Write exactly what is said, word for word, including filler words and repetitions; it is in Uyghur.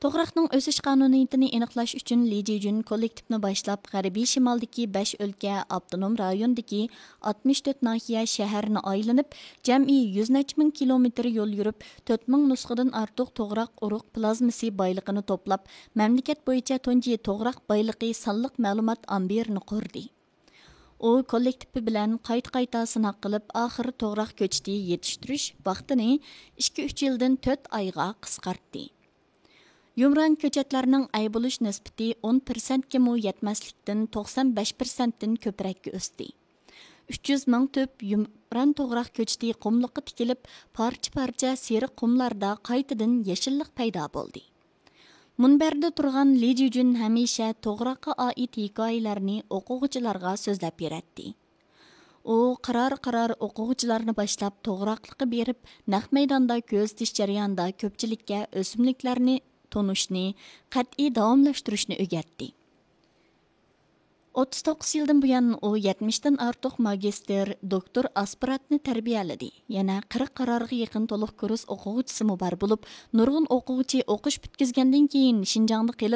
توغراقنىڭ ئۆسۈش قانۇنىيىتىنى ئېنىقلاش ئۈچۈن، لى جىجۈن كوللېكتىپنى باشلاپ، غەربىي شىمالدىكى بەش ئۆلكە، ئاپتونوم رايوندىكى ئاتمىش تۆت ناھىيە، شەھەرنى ئايلىنىپ، جەمئىي يۈز نەچچە مىڭ كىلومېتىر يول يۈرۈپ، تۆت مىڭ نۇسخىدىن ئارتۇق توغراق ئۇرۇق پلازمىسى بايلىقىنى توپلاپ، مەملىكەت بويىچە تۇنجى توغراق بايلىقى سانلىق مەلۇمات ئامبىرىنى قۇردى. ئۇ كوللېكتىپى بىلەن قايتا-قايتا سىناق قىلىپ، ئاخىر توغراق كۆچىتى يېتىشتۈرۈش ۋاقتىنى ئىككى-ئۈچ يىلدىن تۆت ئايغا قىسقارتتى. يۇمران كۆچەتلەرنىڭ ئەي بولۇش نىسبىتى ئون پىرسەنتكىمۇ يەتمەسلىكتىن، توقسان بەش پىرسەنتتىن كۆپرەككە ئۆستى. ئۈچ يۈز مىڭ تۈپ يۇمران توغراق كۆچىتى قۇملۇققا تىكىلىپ، پارچە-پارچە سېرىق قۇملاردا قايتىدىن يېشىللىق پەيدا بولدى. مۇنبەردە تۇرغان لى جىجۈن ھەمىشە توغراققا ئائىت ھېكايىلەرنى ئوقۇغۇچىلارغا سۆزلەپ بېرەتتى. ئۇ قارار-قارار ئوقۇغۇچىلارنى باشلاپ، توغراقلىققا بېرىپ، نەق مەيداندا كۆزىتىش جەريانىدا كۆپچىلىككە ئۆسۈملۈكلەرنى تونۇشنى قەتئىي داۋاملاشتۇرۇشنى ئۆگەتتى. ئوتتۇز توققۇز يىلدىن بۇيان، ئۇ يەتمىشتىن ئارتۇق ماگىستىر، دوكتور ئاسپىرانتنى تەربىيەلىدى. يەنە قىرىق قارارغا يېقىن تولۇق كۇرس ئوقۇغۇچىسىمۇ بار بولۇپ، نۇرغۇن ئوقۇغۇچى ئوقۇش پۈتكۈزگەندىن كېيىن شىنجاڭدا قېلىپ،